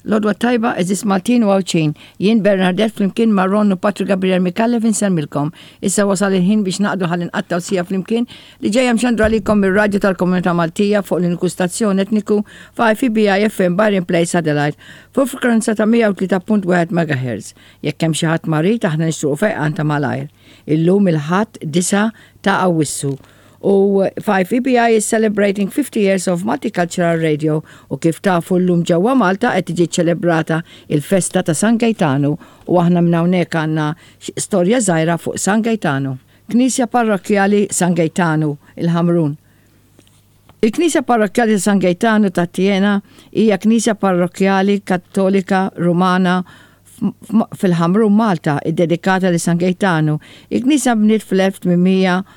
L-għodwa t-tajba għeżież Maltin u Għawdxin. Jien Bernardette flimkien ma' Ron u Patrick Gabriel Micallef insellmilkom. Issa wasal il-ħin biex naqdu ħalli nqattgħu siegħa flimkien li ġejja mxandra għalikom mir-radju tal-Komunità Maltija fuq l-uniku stazzjon etniku f'IFBI FM Byron Place Adelaide fuq frekwenza ta' 103.1 MHz. Jekk hemm xi ħadd marid aħna nixtruqu fejqan ta' malajr. Illum il-Ħadd 9 ta' Awwissu U 5EBI is celebrating 50 years of multicultural radio u kif tafu llum ġewwa Malta qed tiġi ċċelebrata il-festa ta' San Gejtanu u aħna minn hawnhekk għandna storja żgħira fuq San Gejtanu. Knisja Parrokkjali San Gejtanu, il-Ħamrun. Il-Knisja Parrokkjali ta' San Gejtanu ta' Tiena hija knisja parrokkjali Kattolika Rumana fil-Ħamrun, Malta, iddedikata lil San Gejtanu. Il-knisja nbniet fl-1869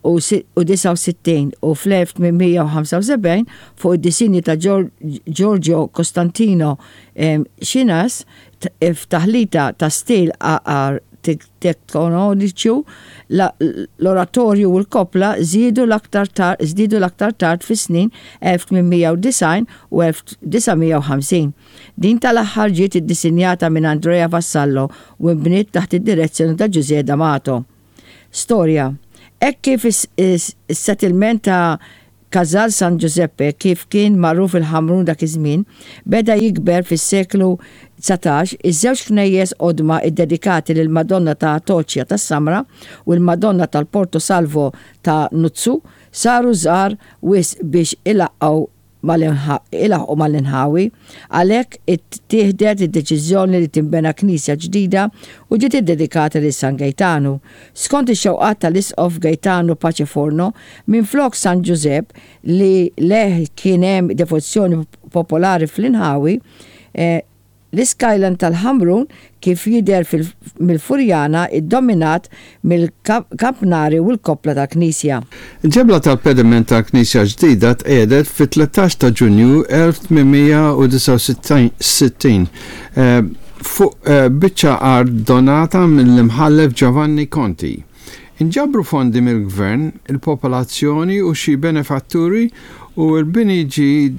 u fl-1875 fuq id-disinji ta' Giorgio Costantino Schinas f'taħlita ta' stil arkitettoniċu. L-oratorju u l-koppla żiedu l-aktar żdiedu l-aktar tard fis-snin 1890 u 1950. Din tal-aħħar ġiet iddisinjata minn Andrea Vassallo u nbniet taħt id-direzzjoni ta' Ġużè D'Amato. Storja Hekk kif is-settlement ta' Casal San Giuseppe, kif kien magħruf il-Ħamrun dak iż-żmien, beda jikber fis-seklu 19, iż-żewġ knejjes qodma ddedikati lill-Madonna ta' Atoċja tas-Samra u l-Madonna tal-Porto Salvo ta' Nuzzu saru żgħar wisq biex ilaqqgħu ilaħqu mal-inħawi. Għalhekk ittieħdet id-deċiżjoni li tinbena knisja ġdida u ġiet iddedikata lil San Gejtanu. Skont ix-xewqat tal-Isqof Gaetano Pace Forno, minflok San Ġużepp li lejh kien hemm devozzjoni popolari fl-inħawi, L-iskyline tal-Ħamrun kif jidher mill-Furjana ddominat mill-kampnari u l-koppla tal-knisja. Il-ġebla tal-pediment tal-knisja ġdida tqiegħdet fit-13 ta' Ġunju 1869 fuq biċċa art donata mill-Imħallef Giovanni Conti. Inġabru fondi mill-gvern, il-popolazzjoni u xi benefatturi u l-bini ġie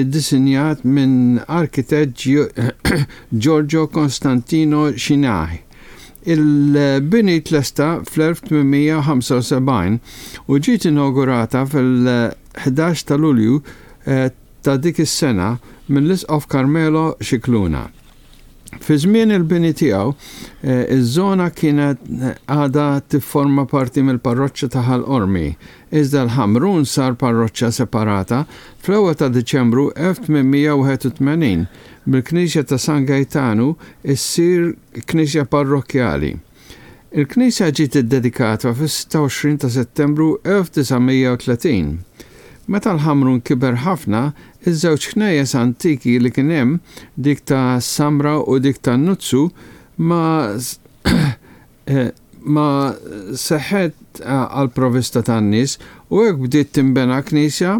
ddisinjat minn arkitett Giorgio Constantino Scinai. Il-bini tlesta fl-1875 u ġiet inawgurata fil-11 ta' Lulju ta' dik is-sena mill-Isqof Carmelo Scicluna. Fi żmien il-bini tiegħu, iż-żona kienet għadha tifforma parti mill-parroċċa ta' Ħal Qormi, iżda l-Ħamrun sar parroċċa separata fl-ewwel ta' Diċembru 1881, bil-knisja ta' San Gejtanu ssir knisja parrokkjali. Il-knisja ġiet iddedikata fis-26 ta' Settembru 1930. Meta l-Ħamrun kiber ħafna, iż-żewġ knejjes antiki li kien hemm, dik ta' Samra u dik ta' Nuzzu, ma ma seħħet għall-provista tan-nies u hekk bdiet tinbena knisja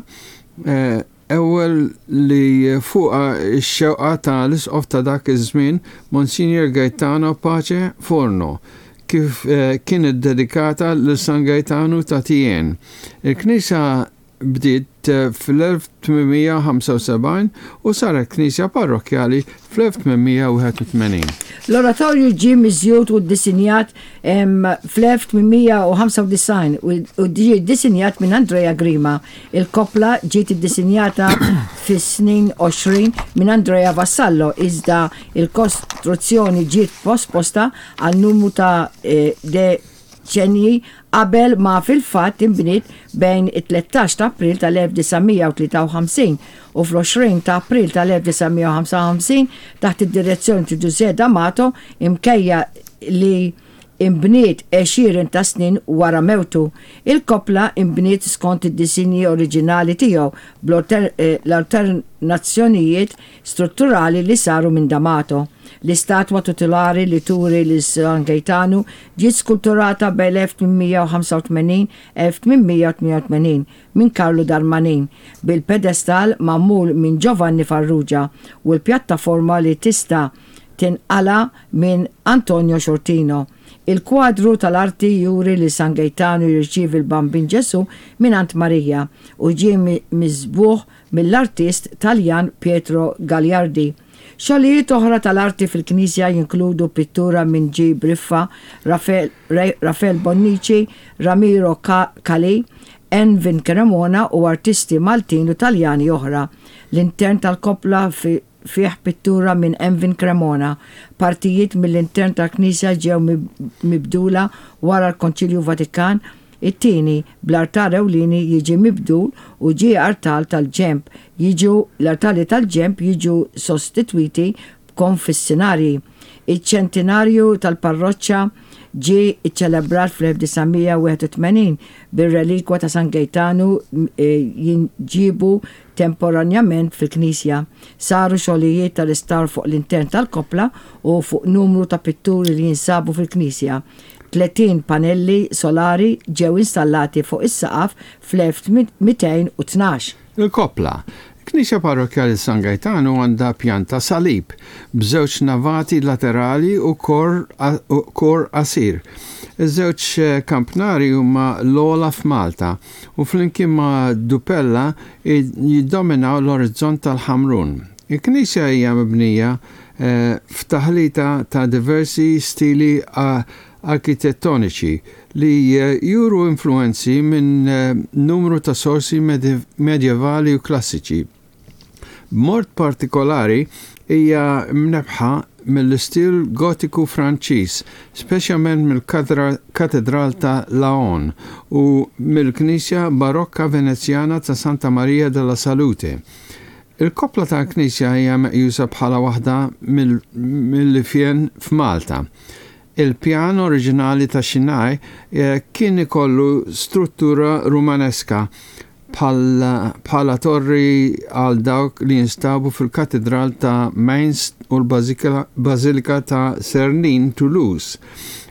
Ewwel li fuqha x-xewqa ta' l-Isqof ta' dak iż-żmien, Monsignor Gaetano Pace Forno, kif kien iddedikata lil San Gaetanu ta' Tien. Il-knisja bdiet fl-1875 u saret knisja parrokkjali fl-1881. L-oratorju ġie miżjud u ddisinjat fl-1895 u ġie ddisinjat minn Andrea Grima. Il-koppla ġiet iddisinjata fis-snin 20 minn Andrea Vassallo iżda l-kostruzzjoni ġiet posposta għal numru ta' deċennji qabel ma fil-fatt inbniet bejn it-13 ta' April tal-1953 u fl-20 ta' April tal-1955 taħt id-direzzjoni ta' Ġużè D'Amato imkejja li inbniet għexieren ta' snin wara mewtu. Il-koppla inbniet skont id-disinji oriġinali tiegħu bl-alternazzjonijiet strutturali li saru minn D'Amato. L-istatwa titulari li turi lil San Gejtanu ġiet skulturata bejn 1885 1888 minn Carlo Darmanin, bil-pedestall magħmul minn Giovanni Farrugia u l-pjattaforma li tista' tinqala' minn Antonio Sciortino. Il-kwadru tal-arti juri lil San Gejtanu jirċievi l-Bambin Ġesù mingħand Marija u ġie miżbugħ mill-artist Taljan Pietro Gagliardi. Xogħlijiet oħra tal-arti fil-knisja jinkludu pittura minn G. Briffa, Rafel Bonnici, Ramiro Calì, Envin Cremona u artisti Maltin u Taljani oħra. L-intern tal-koppla fih pittura minn Envin Cremona. Partijiet mill-intern tal-knisja ġew mibdula wara l-Konċilju Vatikan It-tieni, bl-artal ewlieni jiġi mibdul u ġie artal tal-ġenb jiġu l-artali tal-ġenb jiġu sostitwiti b'konfessinarji. Iċ-ċentinarju tal-parroċċa ġie ċċelebrat fl-1981 bir-relikwa ta' San Gejtanu jinġiebu temporanjament fil-knisja. Saru xogħlijiet ta' restawr fuq l-intern tal-koppla u fuq numru ta' pitturi li jinsabu fil-knisja. 30 panelli solari ġew installati fuq is-saqaf fl-1212. Il-koppla. Il-Knisja Parrokkjali San Gajtanu għandha pjanta salib, b'żewġ navati laterali u kor kor qasir. Iż-żewġ kampnari huma l-ogħla f'Malta u flimkien ma' Dupella jiddominaw l-orizzont tal-Ħamrun. Il-knisja hija mibnija f'taħlita ta' diversi stili arkitettoniċi li juru influwenzi minn numru ta' sorsi medjevali u klassiċi. B'mod partikolari hija mnebbħa mill-istil Gotiku Franċiż, speċjalment mill-Katedral ta' Laon u mill-knisja Barokka Venezjana ta' Santa Maria della Salute. Il-koppla tal-knisja hija meqjusa bħala waħda mill-ifjen f'Malta. Il-pjan oriġinali ta' Xinai kien ikollu struttura Rumaneska bħala torri għal dawk li jinstabu fil-Katidral ta' Mainz u l-Bażilika ta' Sernin, Toulouse.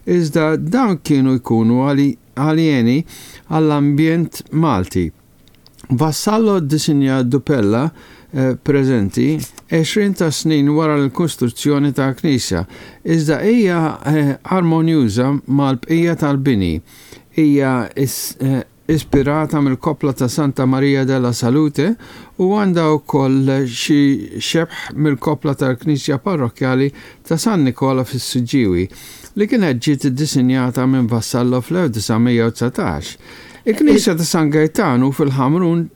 Iżda dawn kienu jkunu aljeni għall-ambjent Malti. Vassallo ddisinja d-dupella preżenti għexrien ta' snin wara l-kostruzzjoni tal-knisja, iżda hija armonjuża mal-bqija tal-bini. Hija ispirata mill-koppla ta' Santa Maria della Salute u għandha wkoll xi xebh mill-koppla tal-knisja parrokkjali ta' San Nikola fis-Siġġiewi, li kienet ġiet iddisinjata minn Vassallo fl-1919. Il-knisja ta' San Gejtanu fil-Ħamrun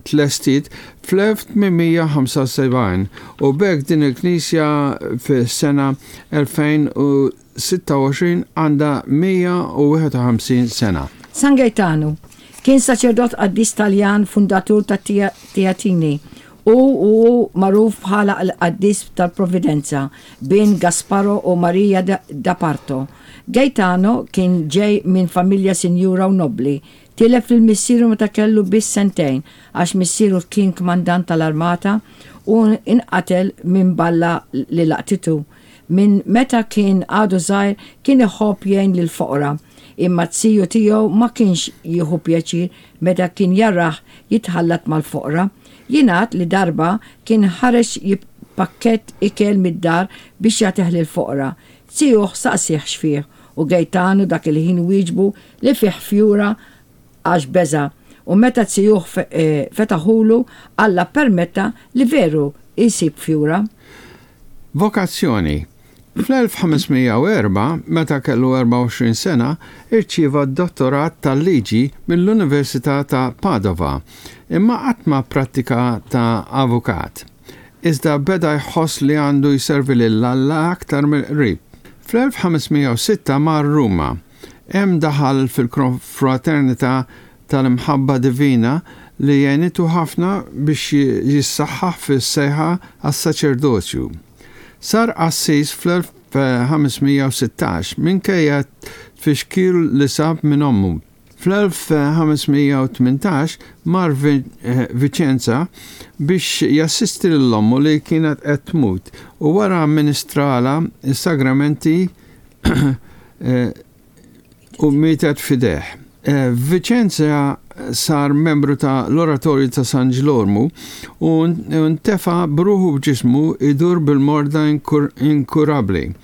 tlestiet fl-1875 u b'hekk din il-knisja fis-sena 2026 għandha 151 sena. San Gejtanu kien saċerdot qaddis Taljan fundatur tat-Teatini u hu magħruf bħala l-Qaddis tal-Providenza, bin Gasparo u Maria da Parto. Gaetano kien ġej minn familja sinjura u nobbli. Tilef lil missieru meta kellu biss sentejn għax missieru kien kmandant tal-armata u nqatel minn balla li laqtitu. Minn meta kien għadu żgħir kien iħobb jgħin lill-foqra. Imma z-ziju tiegħu ma kienx jieħu pjaċir meta kien jarah jitħallat mal-foqra. Jingħad li darba kien ħareġ pakkett ikel mid-dar biex jagħtih lill-foqra. Zijuh saqsieh x'fih u Gejtanu dak il-ħin wieġbu li fih fjura għax beża' u meta zijuh fetaħulu Alla ppermetta li veru jsib fjura. Vokazzjoni Fl-1504, meta kellu 24 sena, irċieva d-dottorat tal-liġi mill-Università ta' Padova, imma qatt ma pprattika ta' avukat. Iżda beda jħoss li għandu jservi lil Alla aktar mill-qrib. Fl-1506 mar Ruma. Hemm daħal fil-Konfraternità tal-Imħabba Divina li għenitu ħafna biex jissaħħaħ fis-sejħa għas-saċerdozju. Sar qassis fl-1516 minkejja t-tfixkil li sab minn ommu. Fl-1518 mar Vicenza biex jassisti lil ommu li kienet qed tmut u wara amministralha s-sagramenti u mietet f'idejh. F'Vicenza sar membru ta' l-Oratorju ta' San Ġlormu u ntefa' b'ruħu b'ġismu jdur bil-morda inkurabbli.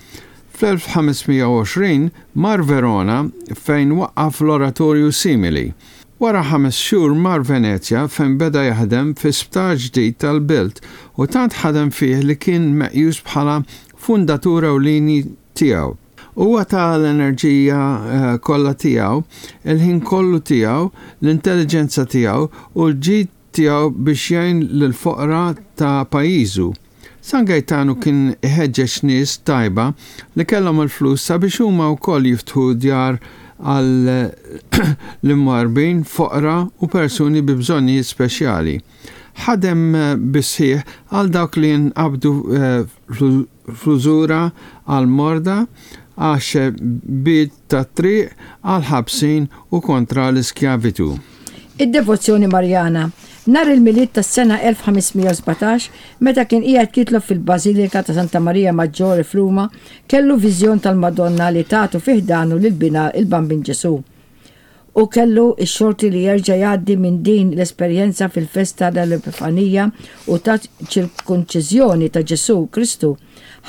Fl-1520 mar Verona fejn waqqaf l-oratorju simili. Wara ħames xhur mar Venezja fejn beda jaħdem fi sptar ġdid tal-belt u tant ħadem fih li kien meqjus bħala fundatur ewlieni tiegħu. Huwa ta l-enerġija kollha tiegħu, il-ħin kollu tiegħu, l-intelliġenza tiegħu u l-ġid tiegħu biex jgħin lill-foqra ta' pajjiżu. San Gejtanu kien iħeġġeġ nies tajba li kellhom il-flus sabiex huma wkoll jiftħu djar għall-imwarrbin, foqra u persuni bi bżonnijiet speċjali. Ħadem bis-sħiħ għal dawk li nqabdu fl-użura, għall-morda, għax-xebbiet tat-triq, għall-ħabsin u kontra l-iskjavitu. Id-devozzjoni Marjana. Nhar il-Milied tas-sena 1517, meta kien qiegħed jitlob fil-Bażilika ta' Santa Maria Maggiore f'Ruma, kellu viżjon tal-Madonna li tatu fi ħdanu lil Binha il-Bambin Ġesù. Hu kellu x-xorti li jerġa' jgħaddi minn din l-esperjenza fil-festa tal-Epifanija u taċ-Ċirkonċiżjoni ta' Ġesù Kristu.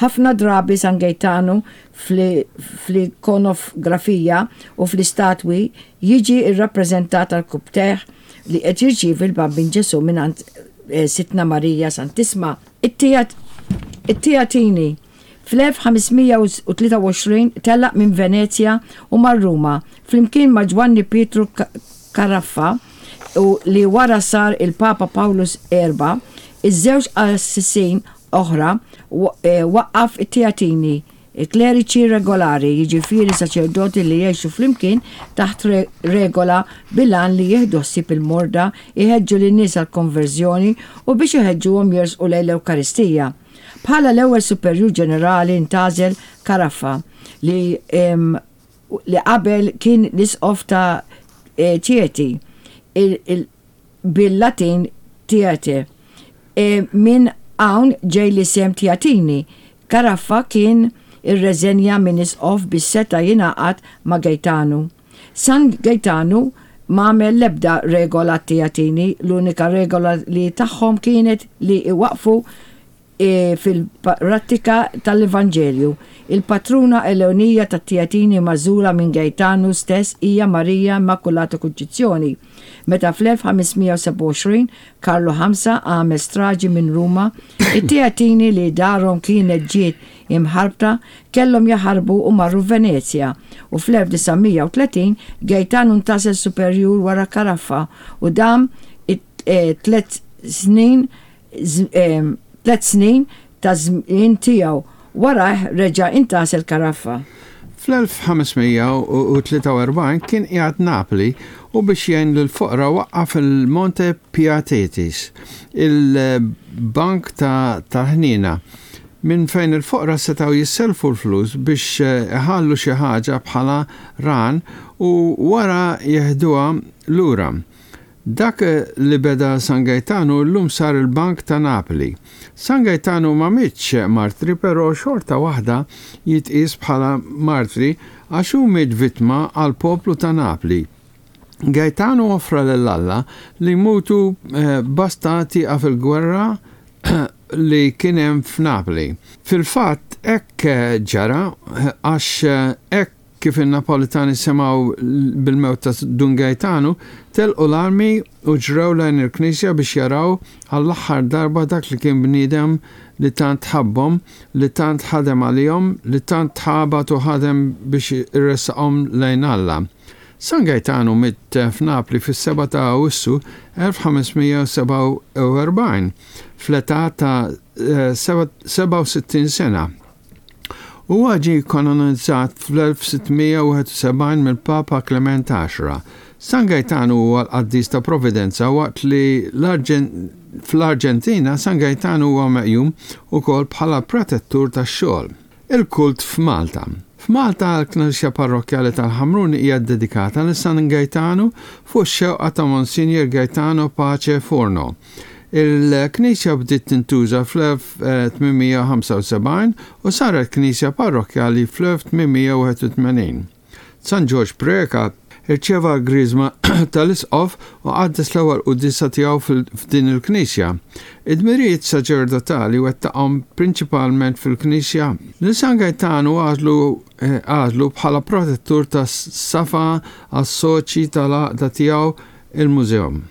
Ħafna drabi San Gejtanu fl-ikonografija u fl-istatwi jiġi rrappreżentat għall-kubtejh li qed jirċievi l-Bambin Ġesù mingħand Sidtna Marija Santissma. It-Teatini Fl-1523 telaq minn Venezja u mar Ruma flimkien ma' Ġwanni Pietru Caraffa u li wara sar il-Papa Pawlus Erba', iż-żewġ qassisin oħra waqqaf it-Teatini, kleriċi regolari, jiġifieri saċerdoti li jgħixu flimkien taħt regola bil-għan li jieħdu ħsieb il-morda, iħeġġu lin-nies għall-konverżjoni u biex iħeġġuhom jersqu lejn l-Ewkaristija. Bħala l-ewwel Superjur Ġenerali ntgħażel Caraffa li li qabel kien l-Isqof ta' Chieti, bil-Latin Tiete. Minn hawn ġej l-isem Teatini. Caraffa kien irreżenja minn Isqof biex seta' jingħaqad ma' Gaetanu. San Gaetanu m'għamel l-ebda regola għat-Teatini, l-unika regola li tagħhom kienet li iwaqqfu fil-prattika tal-Evanġelju. Il-patruna ewlenija tat-Teatini magħżula minn Gaetanu stess hija Marija Immakulata Kunċizzjoni. Meta fl-1527 Karlu Ħamsa għamel straġi minn Ruma, it-Teatini li darhom kienet ġiet imħarbta, kellhom jaħarbu u marru Venezja, u fl-1930 Gaetano ntgħażel superjur wara Caraffa u dam it-tliet snin tliet snin taż-żmien tiegħu. Warajh reġa' intgħażel Caraffa. Fl-1543 kien qiegħed Napli u biex jgħin lill-foqra waqqaf il-Monte Piatetis, il-bank tal-ħniena, minn fejn il-foqra setgħu jissellfu l-flus biex iħallu xi ħaġa bħala rahan u wara jeħduha lura. Dak li beda San Gaetanu llum sar il-Bank ta' Napli. San Gaetanu ma mietx martri però xorta waħda jitqies bħala martri għax hu miet vittma għall-poplu ta' Napli. Gaetanu offra lil Alla li jmutu basta tieqaf il-gwerra li kien hemm f'Napli. Fil-fatt hekk ġara għax hekk kif in-Napolitani semgħu bil-mewt ta' Dun Gaetanu, telqu l-armi u ġrew lejn il-knisja biex jaraw għall-aħħar darba dak li kien bniedem li tant ħabbhom, li tant ħadem għalihom, li tant tħabat u ħadem biex iressaqhom lejn Alla. San Gaetanu miet f'Napli fis-7 ta' Awwissu 1547 fl-età ta' 67 sena. Huwa ġie kkanonizzat fl-1671 mill-Papa Klement Għaxra. San Gaetanu huwa l-qaddis ta' Providenza waqt li fl-Arġentina San Gaetanu huwa meqjum ukoll bħala protettur tax-xogħol. Il-kult f'Malta. F'Malta l-Knisja Parrokkjali tal-Ħamrun hija ddedikata lil San Gaetanu fuq ix-xewqa ta' Monsinjur Gaetano Pace Forno. Il-knisja bdiet tintuża fl-1875 u saret knisja parrokkjali fl-1881. San Ġorġ Preca rċieva l-griżma tal-Isqof u qaddes l-ewwel quddiesa tiegħu f'din il-knisja. Id-dmirijiet saċerdotali wettaqhom prinċipalment fil-knisja. Lil San Gaetanu għażlu għażlu bħala protettur tas-safa għas-soċji tal-għaqda tiegħu il-museum.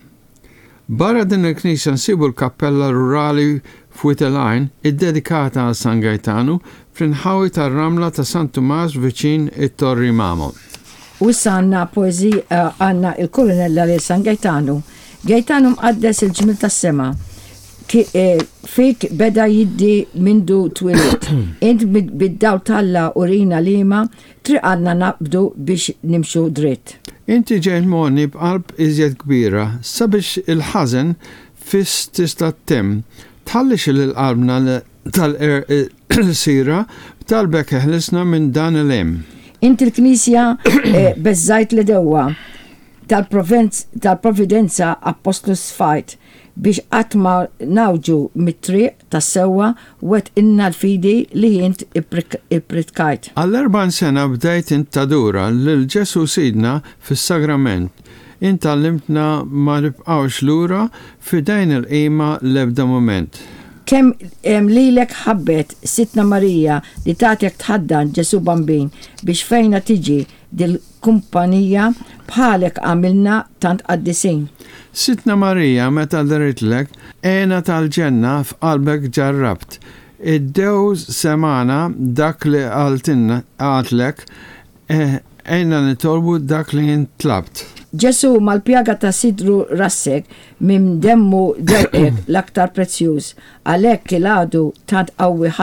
Barra din il-knisja nsibu l-kappella rurali f'Wied il-Għajn iddedikata għal San Gajtanu fl-inħawi tar-Ramla ta' San Tumas viċin it-Torri Mamo. U issa għandna poeżija għandna il-kurunella lil San Gajtanu. Gajtanu mqaddes il-ġmiel tas-sema. Fik beda jiddi mindu twilidt. Int bid-dawl t'Alla urina liema Triq għandna naqbdu biex nimxu dritt. Inti ġejt mogħni b'qalb iżjed kbira sabiex il-ħażen fis tista' ttemm. Tħallix lil qalbna tal-qerq lsira, b'talbek eħlisna minn dan il-hemm. Int il-Knisja beżżajt l-għedewwa, tal-Providenza appostlu sfajt biex qatt ma ngħawġu mit-triq tas-sewwa wettqilna l-fidi li int ippritkajt. Għall-erbgħin sena bdejt int tadura lil Ġesù Sidna fis-Sagrament, int għallimtna ma nibqgħux lura f'idejn il-qima l-ebda mument. Kemm lilek ħabbet Sidtna Marija li tatek tħaddan Ġesù Bambin biex fejna tiġi dil-kumpanija bħalek għamilna tant qaddisin. Sidtna Marija meta deritlek hena tal-ġenna f'qalbek ġarrabt. Id-dew semagħna dak li qaltilna qaltlek għinna nitolbu dak li int tlabt. Ġesù mal-pjaga ta' sidru rassek minn demmu dewqek l-aktar prezzjuż għalhekk il-għadu tant qawwi.